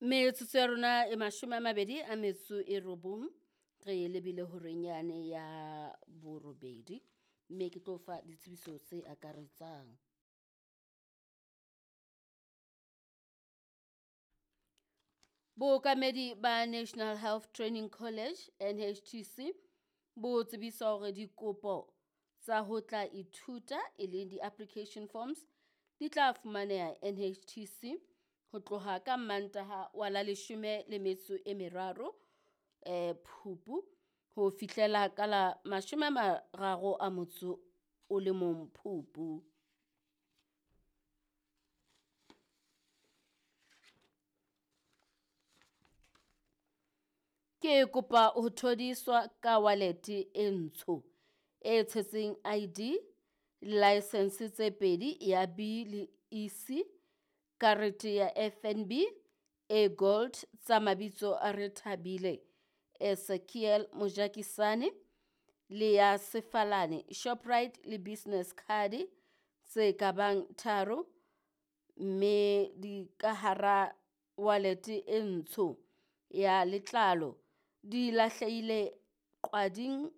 Metsotso ya rona e 29 re lebile horeng yane ya borobedi, mme ke tlo fa ditsebiso tse akaretsang. Bookamedi ba National Health Training College, NHTC, bo tsebisa hore dikopo tsa ho tla ithuta e leng di-application forms di tla fumaneha NHTC ho tloha ka Mmantaha wa la 13 Phupu ho fihlela ka la 31 Phupu. Ke kopa ho thodiswa ka wallet e ntsho e tshetseng ID, license tse pedi ya B le EC, karete ya FNB e gold tsa mabitso a Rethabile Ezekiel Mojakisane le ya Sefalane Shoprite le business card tse ka bang tharo, mme di ka hara wallet e ntsho ya letlalo di lahlehile Qwading.